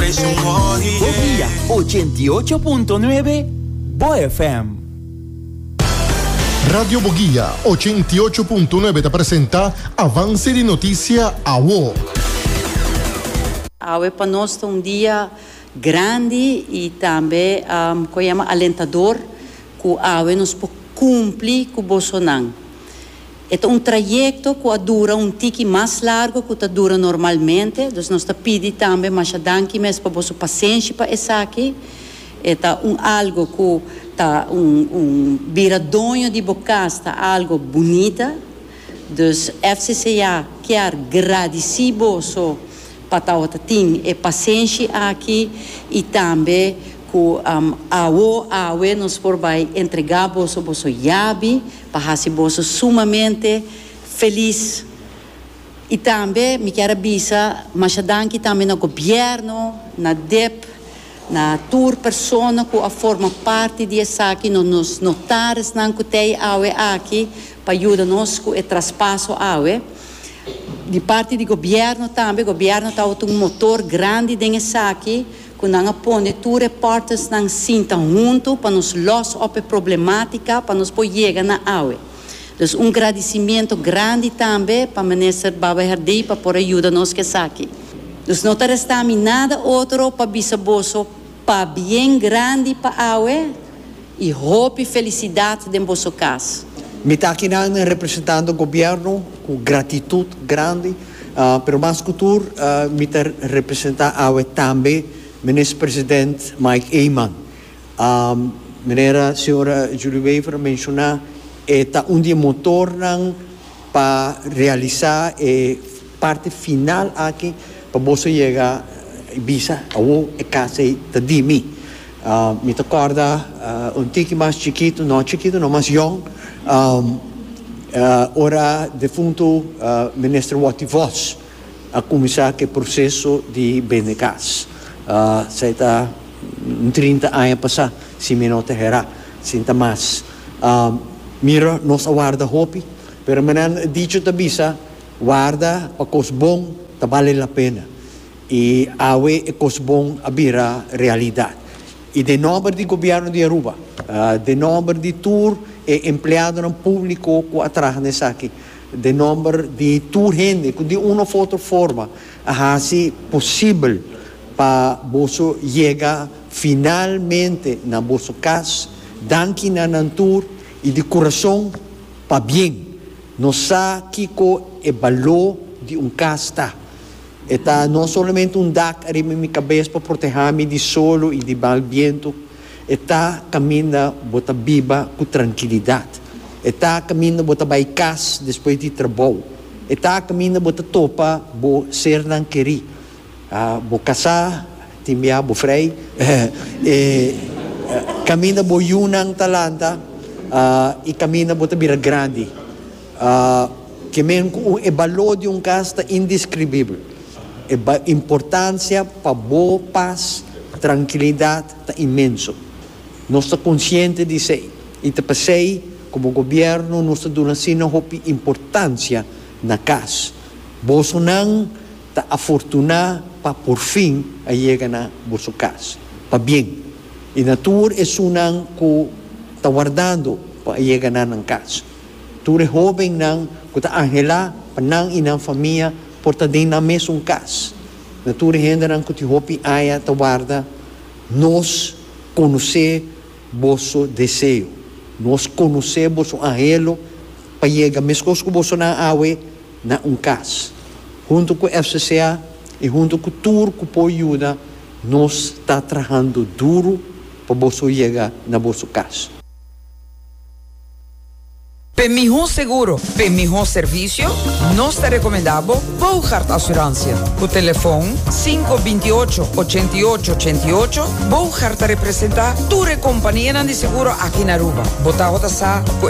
Bo Guia 88.9 Bo FM. Radio Boguia 88.9 ta presenta Avance di Noticia Awo. Awe pa nos ta un dia grandi y tambe cu a yama alentador cu awe nos por cumpli cu bosonan. E ta un trayecto cu a dura un tiki mas largo cu ta dura normalmente, dus nos ta pidi tambe masha danki mes pa boso pasenshi pa esaki. E ta un algo cu ta un un bira doño di bo cas ta algo bunita, dus FCCA kier gradici boso pa tawata tin e pasenshi aki y tambe cu awo awe nos por bay entrega boso boso yabi pa hasi boso sumamente felis. Y tambe mi kier a bisa masha danki tambe na gobierno, na dip, na tur persona cu a forma parti di esaki, no nos notarisnan cu t'ey awe aki pa yuda nos cu e traspaso awe. Di parti di gobierno tambe, gobierno tabata un motor grandi den esaki, cu nan a pone tur e partnersnan sinta hunto pa nos los op e problematica pa nos por yega na awe. Dus un gradicimiento grandi tambe pa Minister Baba Herdé pa por a yuda nos cu esaki. Dus no ta resta mi nada otro pa bisa boso pabien grandi pa awe y hopi felicidad den boso cas. Mi ta akinan representando gobierno cu gratitud grandi, pero mas cu tur mi ta representa awe tambe Minister President Mike Eman. Manera señora Julie Wever a menciona, e ta un di e motornan pa realisa e parti final aki pa boso yega y bisa awo e cas ey ta di mi. Mi ta corda un tiki mas chikito, no chikito no, mas yong, ora defunto Minister Watty Vos a cuminsa cu e proceso di bende cas. Esey ta un trinta aña pasa, si mi no ta hera, sin ta mas. Mira, nos a warda hopi, pero manera dicho ta bisa, warda pa cos bon ta bale la pena. Y awe e cos bon a bira realidad. Y den nomber di Gobierno di Aruba, den nomber di tur e empleadonan publico cu a traha na esaki, den nomber di tur hende cu di un of otro forma a haci posibel pa boso yega finalmente na boso cas, danki na nan tur y di curason pabien. Nos sa kico e balor di un cas ta. E ta no solamente un dak ariba mi kabes pa protehá mi di solo i di mal bientu. E ta kaminda bo ta biba ku trankilidat. E ta kaminda bo ta bai kas despues di trabou. E ta kaminda bo ta topa bo sernan kerí. Bo kasá, tin bia bo frei. E kaminda bo yunan ta lanta i kaminda bo ta bira grandi. Ke men ku e balor di un kas ta indeskribibel. E importansia pa bo pas, trankilidat ta inmenso. Nos ta konsiente di esei i ta p'esei komo gobièrnu nos ta duna asina hopi importansia na kas. Bosonan ta afortuná pa porfin a yega na boso kas. Pabien! I na tur esunnan ku ta wardando pa a yega na nan kas. Tur e hóbennan ku ta anhelá pa nan i nan famia por ta den nan mesun kas. Na tur e hendenan ku tin hopi aña ta warda, nos konosé boso deseo. Nos konosé boso anhelo pa yega meskos ku bosonan awe na un kas. Huntu ku FCCA i huntu ku tur ku por yuda, nos ta trahando duru pa boso yega na boso kas. P'e mihó seguro, p'e mihó servisio, nos ta rekomendá bo Boogaard Assurantie. Ku telefon sinku 28 88 88, Boogaard ta representá tur e kompanianan di seguro aki na Aruba. Bo tabata sa ku.